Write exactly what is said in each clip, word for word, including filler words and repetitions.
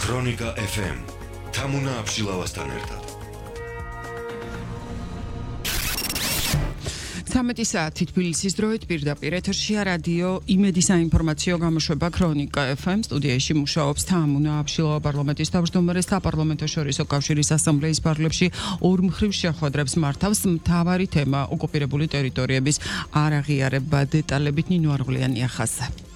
ქრონიკა ეფ ემ თამუნა აბშილავასთან ერთად. ცამეტი საათი თბილისის დროით პირდაპირ ეთერშია რადიო იმედი საინფორმაციო გამოშვება ქრონიკა ეფ ემ. სტუდიაში მუშაობს თამუნა აბშილავა, პარლამენტის თავმჯდომარე, საპარლამენტო შორისო კავშირის ასამბლეის ფარგლებში ორ მხრივ შეხვედრებს მართავს. მთავარი თემა ოკუპირებული ტერიტორიების არაღიარება. დეტალებით ნინო არღლიანია ხაზზე.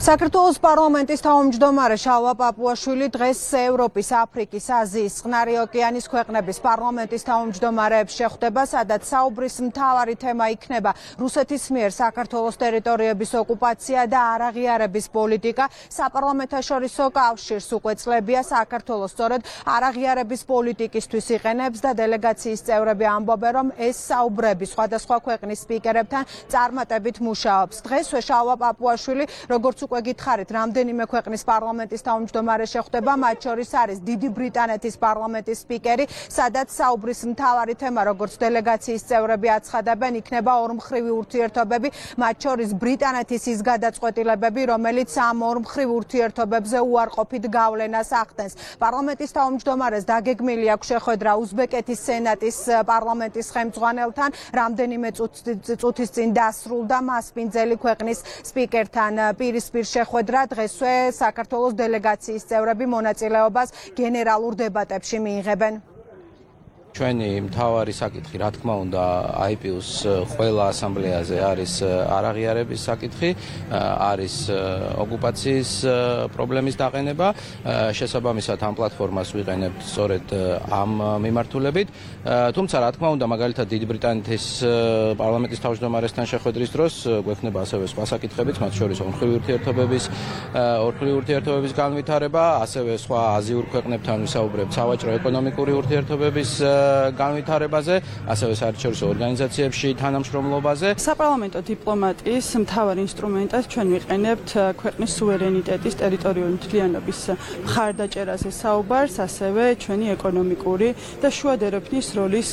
საქართველოს პარლამენტის თავმჯდომარე შალვა პაპუაშვილი დღეს ევროპის, აფრიკის, აზიის, წყნარი ოკეანის ქვეყნების პარლამენტის თავმჯდომარეებს შეხვდება, სადაც საუბრის მთავარი თემა იქნება რუსეთის მიერ საქართველოს ტერიტორიების ოკუპაცია და არაღიარების პოლიტიკა. საპარლამენტაშორისო კავშირს უკვე წლებია საქართველოს სწორედ არაღიარების პოლიტიკისთვის იყენებს და დელეგაციის წევრები ამბობენ, რომ ეს საუბრები სხვადასხვა ქვეყნის სპიკერებთან წარმატებით მუშაობს. დღესვე შალვა პაპუაშვილი, როგორც უკვე გითხარით, რამდენიმე ქვეყნის პარლამენტის თავმჯდომარე შეხვდება, მათ შორის არის დიდი ბრიტანეთის პარლამენტის სპიკერი, სადაც საუბრის მთავარი თემა, როგორც დელეგაციის წევრები აცხადებენ, იქნება ორმხრივი ურთიერთობები, მათ შორის ბრიტანეთის ის გადაწყვეტილებები, რომელიც ამ ორმხრივ ურთიერთობებზე უარყოფით გავლენას ახდენს. პარლამენტის თავმჯდომარეს დაგეგმილი აქვს შეხვედრა უზბეკეთის სენატის პარლამენტის ხელმძღვანელთან, რამდენიმე წუთის წინ დასრულდა მასპინძელი ქვეყნის სპიკერთან პირისპირ შეხვედრა. დღესვე საქართველოს დელეგაციის წევრები მონაწილეობას გენერალურ დებატებში მიიღებენ. ჩვენი მთავარი საკითხი, რა თქმა უნდა, აი პი იუს ყველა ასამბლეაზე არის არაღიარების საკითხი, არის ოკუპაციის პრობლემის დაყენება. შესაბამისად ამ პლატფორმას ვიყენებთ სწორედ ამ მიმართულებით. თუმცა, რა თქმა უნდა, მაგალითად დიდი ბრიტანეთის პარლამენტის თავმჯდომარესთან შეხვედრის დროს გვექნება ასევე სხვა საკითხებიც, მათ შორის ორმხრივი ურთიერთობების ორმხრივი ურთიერთობების განვითარება, ასევე სხვა აზიურ ქვეყნებთან ვისაუბრებთ სავაჭრო ეკონომიკური ურთიერთობების განვითარებაზე, ასევე საერთაშორისო ორგანიზაციებში თანამშრომლობაზე. საპარლამენტო დიპლომატიის მთავარ ინსტრუმენტად ჩვენ ვიყენებთ ქვეყნის სუვერენიტეტის, ტერიტორიული მთლიანობის მხარდაჭერაზე საუბარს, ასევე ჩვენი ეკონომიკური და შუადერეფნის როლის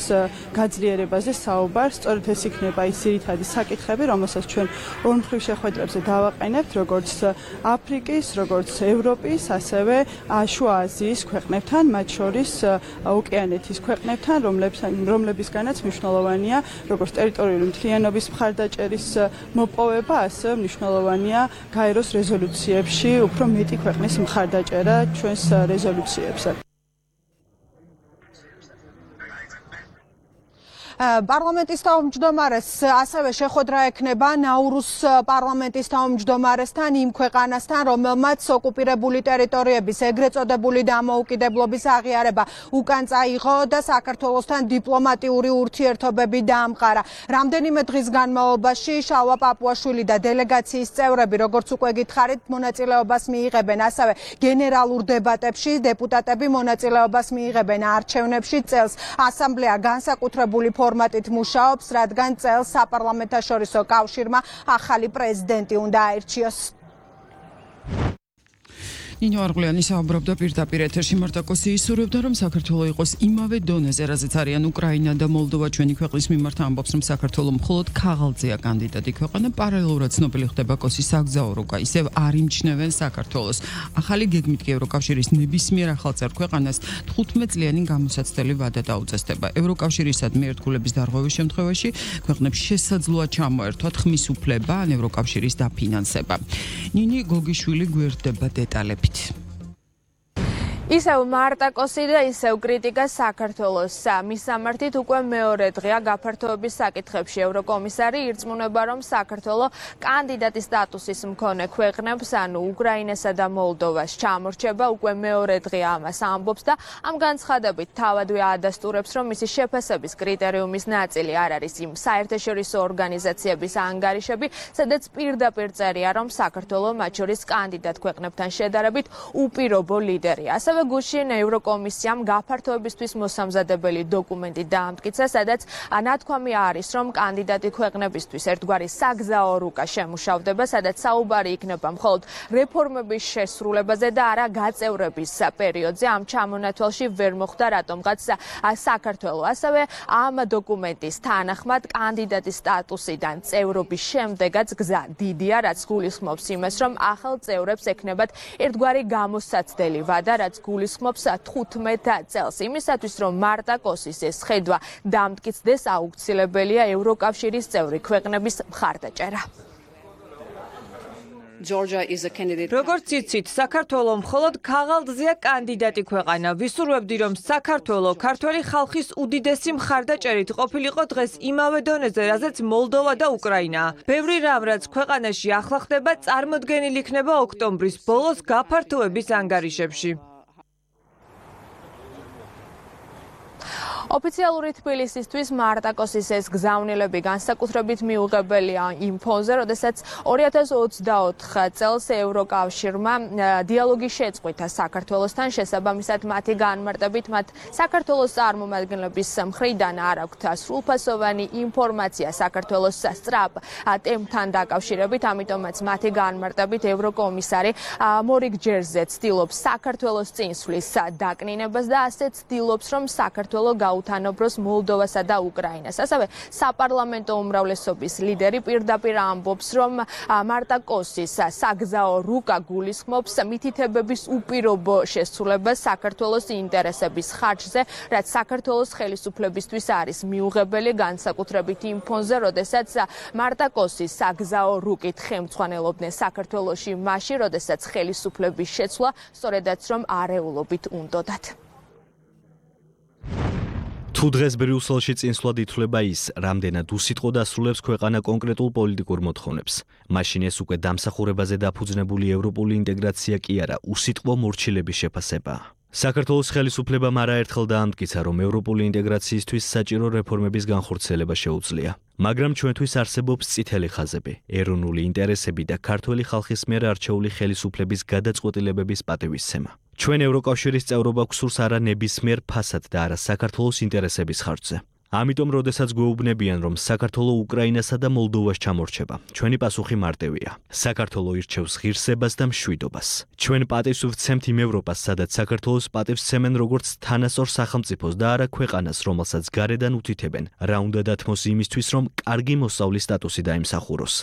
გაძლიერებაზე საუბარს. სწორედ ეს იქნება ის ძირითადი საკითხები, რომელსაც ჩვენ ორმხრივ შეხვედრებზე დავაყენებთ, როგორც აფრიკის, როგორც ევროპის, ასევე შუა აზიის ქვეყნებთან, მათ შორის ოკეანეთის ქვეყნებთან, რომლებისგანაც მნიშვნელოვანია როგორც ტერიტორიული მთლიანობის მხარდაჭერის მოპოვება, ასევე მნიშვნელოვანია გაეროს რეზოლუციებში უფრო მეტი ქვეყნის მხარდაჭერა ჩვენს რეზოლუციებზე. პარლამენტის თავმჯდომარეს ასევე შეხვედრა ექნება ნაურუს პარლამენტის თავმჯდომარესთან, იმ ქვეყანასთან, რომელმაც ოკუპირებული ტერიტორიების ეგრეთ წოდებული დამოუკიდებლობის აღიარება უკან წაიღო და საქართველოსთან დიპლომატიური ურთიერთობები დაამყარა. რამდენიმე დღის განმავლობაში შალვა პაპუაშვილი და დელეგაციის წევრები, როგორც უკვე გითხარით, მონაწილეობას მიიღებენ ასევე გენერალურ დებატებში, დეპუტატები მონაწილეობას მიიღებენ არჩევნებში. წელს ასამბლეა განსაკუთრებული ფორმატით მუშაობს, რადგან წელს საპარლამენტაშორისო კავშირმა ახალი პრეზიდენტი უნდა აირჩიოს. ნინო არღლიანი საუბრობდა პირდაპირ ეთერში. მარტაკოსი ისურვებდა, რომ საქართველო იყოს იმავე დონეზე, რაზეც არიან უკრაინა და მოლდოვა. ჩვენი ქვეყნის მიმართ ამბობს, რომ საქართველო მხოლოდ ქაღალდზეა კანდიდატი ქვეყანა. პარალელურად ცნობილი ხდება კოსის საგზაო რუკა, ისევ არ იმჩნევენ საქართველოს. ახალი გეგმით კი ევროკავშირის ნებისმიერ ახალწევრ ქვეყანას თხუთმეტ წლიანი გამოსაცდელი ვადა დაუწესდება. ევროკავშირისადმი ერთგულების დარღვევის შემთხვევაში ქვეყნებს შესაძლოა ჩამოერთვათ ხმის უფლება ან ევროკავშირის დაფინანსება. ნინი გოგიშვილი გვერდება დეტალები. ისევ მარტაკოსი და ისევ კრიტიკა საქართველოს. მისამართით უკვე მეორე დღეა გაფართოების საკითხებში. ევროკომისარი ირწმუნება, რომ საქართველო კანდიდატის სტატუსის მქონე ქვეყნებს, ანუ უკრაინასა და მოლდოვას ჩამორჩება. უკვე მეორე დღეა ამას ამბობს და ამ განცხადებით თავადვე ადასტურებს, რომ მისი შეფასების კრიტერიუმის ნაწილი არ არის იმ საერთაშორისო ორგანიზაციების ანგარიშები, სადაც პირდაპირ წერია, რომ საქართველო მათ შორის კანდიდატ ქვეყნებთან შედარებით უპირობო ლიდერია. ასევე ასევე გუშინ ევროკომისიამ გაფართოებისთვის მოსამზადებელი დოკუმენტი დაამტკიცა, სადაც ნათქვამი არის, რომ კანდიდატი ქვეყნებისთვის ერთგვარი საგზაო რუკა შემუშავდება, სადაც საუბარი იქნება მხოლოდ რეფორმების შესრულებაზე და არა გაწევრების პერიოდზე. ამ ჩამონათვალში ვერ მოხვდა რატომღაც საქართველო. ასევე ამ დოკუმენტის თანახმად კანდიდატის სტატუსიდან წევრობის შემდეგაც გზა დიდია, რაც გულისხმობს იმას, რომ ახალ წევრებს ექნებათ ერთგვარი გამოსაცდელი ვადა, რაც გულისხმობს თხუთმეტ წელს. იმისათვის, რომ მარტა კოსის ეს ხედვა დამტკიცდეს, აუცილებელია ევროკავშირის წევრი ქვეყნების მხარდაჭერა. როგორც იცით, საქართველო მხოლოდ ქაღალდზეა კანდიდატი ქვეყანა. ვისურვებდი, რომ საქართველო ქართველი ხალხის უდიდესი მხარდაჭერით ყოფილიყო დღეს იმავე დონეზე, რაზეც მოლდოვა და უკრაინაა. ბევრი რამ, რაც ქვეყანაში ახლა ხდება, წარმოდგენილი იქნება ოქტომბრის ბოლოს გაფართოების ანგარიშებში. ოფიციალური თბილისისთვის მარტაკოსის ეს გზავნილები განსაკუთრებით მიუღებელია იმ ფონზე, როდესაც ორი ათას ოცდაოთხ წელს ევროკავშირმა დიალოგი შეწყვიტა საქართველოსთან, შესაბამისად მათი განმარტებით მათ საქართველოს წარმომადგენლების მხრიდან არ აქვთ სრულფასოვანი ინფორმაცია საქართველოს სწრაფ ტემპთან დაკავშირებით, ამიტომაც მათი განმარტებით ევროკომისარი მორიგ ჯერზე ცდილობს საქართველოს წინსვლის დაკნინებას და ასეც ცდილობს, რომ საქართველო გაუთანობროს მოლდოვასა და უკრაინას. ასევე საპარლამენტო უმრავლესობის ლიდერი პირდაპირ ამბობს, რომ მარტა კოსის საგზაო რუკა გულისხმობს მითითებების უპირობო შესრულებას საქართველოს ინტერესების ხარჯზე, რაც საქართველოს ხელისუფლებისთვის არის მიუღებელი, განსაკუთრებით იმ ფონზე, როდესაც მარტა კოსის საგზაო რუკით ხელმძღვანელობდნენ საქართველოში მაშინ, როდესაც ხელისუფლების შეცვლა სწორედაც რომ არეულობით უნდოდათ. თუ დღეს ბრიუსელში წინსვლად ითვლება ის, რამდენად უსიტყვოდ ასრულებს ქვეყანა კონკრეტულ პოლიტიკურ მოთხოვნებს, მაშინ ეს უკვე დამსახურებაზე დაფუძნებული ევროპული ინტეგრაცია კი არა, უსიტყვო მორჩილების შეფასებაა. საქართველოს ხელისუფლებამ არაერთხელ დაამტკიცა, რომ ევროპული ინტეგრაციისთვის საჭირო რეფორმების განხორციელება შეუძლია. მაგრამ ჩვენთვის არსებობს წითელი ხაზები, ეროვნული ინტერესები და ქართველი ხალხის მიერ არჩეული ხელისუფლების გადაწყვეტილებების პატივისცემა. ჩვენ ევროკავშირის წევრობა გვსურს არა ნებისმიერ ფასად და არა საქართველოს ინტერესების ხარჯზე. ამიტომ, როდესაც გვეუბნებიან, რომ საქართველო უკრაინასა და მოლდოვას ჩამორჩება, ჩვენი პასუხი მარტივია. საქართველო ირჩევს ღირსებას და მშვიდობას. ჩვენ პატივს ვცემთ იმ ევროპას, სადაც საქართველოს პატივს ცემენ როგორც თანასწორ სახელმწიფოს და არა ქვეყანას, რომელსაც გარედან უთითებენ, რა უნდა დათმოს იმისთვის, რომ კარგი მოსავლის სტატუსი დაიმსახუროს.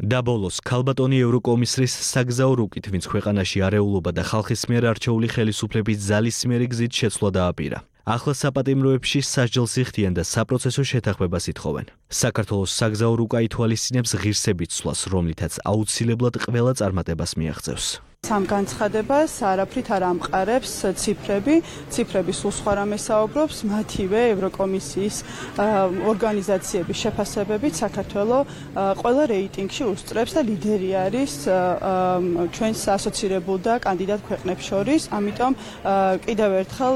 და ბოლოს, ქალბატონი ევროკომისრის საგზაო რუკით, ვინც ქვეყანაში არეულობა და ხალხის მიერ არჩეული ხელისუფლების ძალისმიერი გზით შეცვლა დააპირა. ახლა საპატიმროებში სასჯელს იხდიან და საპროცესო შეთანხმებას ითხოვენ. საქართველოს საგზაო რუკა ითვალისწინებს ღირსებით ცვლას, რომლითაც აუცილებლად ყველა წარმატებას მიაღწევს. სამ განცხადებას არაფრით არ ამყარებს ციფრები, ციფრები სულ სხვა რამეს საუბრობს, მათივე ევროკომისიის ორგანიზაციების შეფასებებით საქართველო ყველა რეიტინგში უსწრებს და ლიდერი არის ჩვენს ასოცირებულ და კანდიდატ ქვეყნებს შორის, ამიტომ კიდევ ერთხელ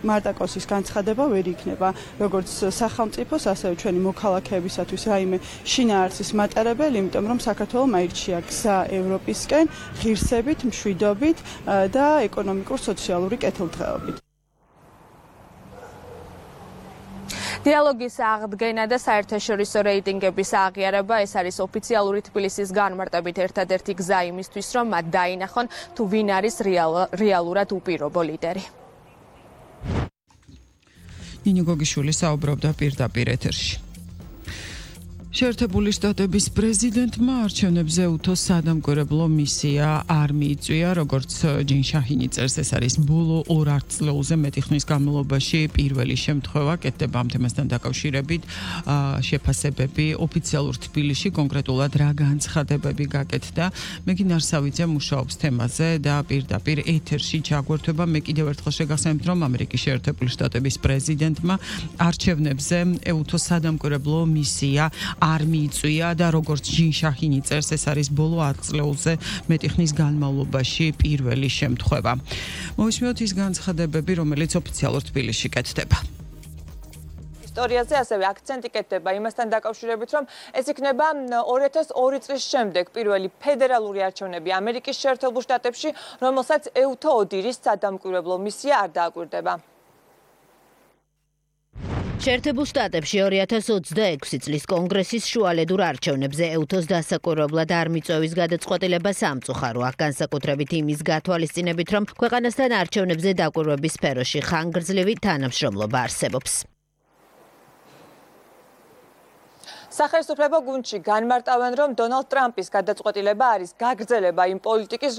მარტა კოსის განცხადება ვერ იქნება როგორც სახელმწიფოს, ასევე ჩვენი მოქალაქეებისათვის რაიმე შინაარსის მატარებელი, იმიტომ რომ საქართველომ აირჩია გზა ევროპისკენ ღირსებით, მშვიდობით და ეკონომიკურ-სოციალური კეთილდღეობით. დიალოგის აღდგენა და საერთაშორისო რეიტინგების აღიარება ეს არის ოფიციალური თბილისის განმარტებით ერთადერთი გზა იმისთვის, რომ მათ დაინახონ თუ ვინ არის რეალურად უპირობო ლიდერი. ნინო გოგიშვილი საუბრობდა პირდაპირ ეთერში. შეერთებული შტატების პრეზიდენტმა არჩევნებზე უთოს სადამკვირვებლო მისია არ მიიწვია, როგორც ჯინ შაჰინი წერს, ეს არის ბოლო ორ ათწლეულზე მეტი ხნის განმავლობაში პირველი შემთხვევა კეთდება ამ თემასთან დაკავშირებით შეფასებები ოფიციალურ თბილისში, კონკრეტულად რა განცხადებები გაკეთდა. მე კი ნარსავიძე მუშაობს თემაზე და პირდაპირ ეთერში ჩაგვერთვება. მე კიდევ ერთხელ შეგახსენებთ, რომ ამერიკის შეერთებული შტატების პრეზიდენტმა არჩევნებზე უთოს სადამკვირვებლო მისია არ მიიწვია და როგორც ჯინ შაჰინი წერს, ეს არის ბოლო ათწლეულზე მეტი ხნის განმავლობაში პირველი შემთხვევა. მოვისმინოთ ის განცხადებები, რომელიც ოფიციალურ თბილისში კეთდება. ისტორიაზე, ასევე აქცენტი კეთდება იმასთან დაკავშირებით, რომ ეს იქნება ორი ათას ორი წლის შემდეგ პირველი ფედერალური არჩევნები ამერიკის შეერთებულ შტატებში, რომელსაც ეუთო ოდირის სადამკვირვებლო მისია არ დააკვირდება. შეერთებულ შტატებში ორი ათას ოცდაექვსი წლის კონგრესის შუალედურ არჩევნებზე ეუთოს დასაკურებლად არ მიწვევის გადაწყვეტილება სამწუხარო. აქ განსაკუთრებით იმის გათვალისწინებით, რომ ქვეყანასთან არჩევნებზე დაკვირვების სფეროში ხანგრძლივი თანამშრომლობა არსებობს. სახელმწიფო გუნდში განმარტავენ, რომ დონალდ ტრამპის გადაწყვეტილება არის გაგრძელება იმ პოლიტიკის,